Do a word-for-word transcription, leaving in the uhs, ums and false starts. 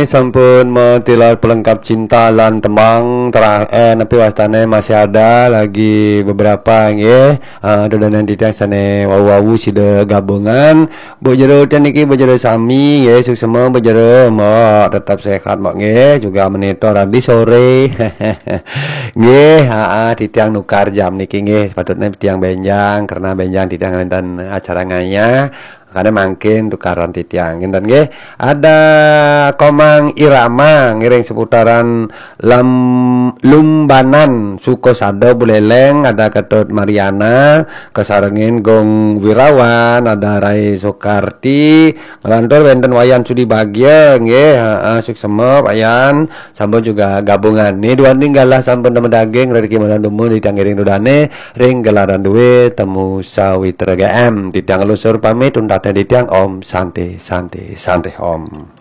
Sampun matilar pelengkap cinta lan tembang terakhir, eh, napi wastane masih ada lagi beberapa nggih. Ah, dodonan titiang sane wau-wau sida gabungan. Bu Jero ten niki Bu Jero sami nggih, suksema Bu Jero, Mbok, tetap sehat Mbok nggih, juga menito radi sore. Nggih, ha, titiang nukar jam niki nggih, sepatutnya titiang benjang karena benjang titiang wenten acara ngayah. Makanya mangkin tukaran titiang. Ngenten nggih. Ada Komang Irama ngiring seputaran Lam Lumbanan, Sukosada, Buleleng, ada Ketut Mariana, kasarengin Gong Wirawan, ada Rai Soekarti, ngelantur wenten Wayan Sudi Bagia nggih. Heeh, suksema Wayan, sampun juga gabungan. Ni duaning galah sampun nemu daging, rezeki madan dumun titiang ngiring dodane ring gelaran duwe temu sawitra G M. Titiang lusur pamit, untatne titiang Om Santi, Santi, Santi Om.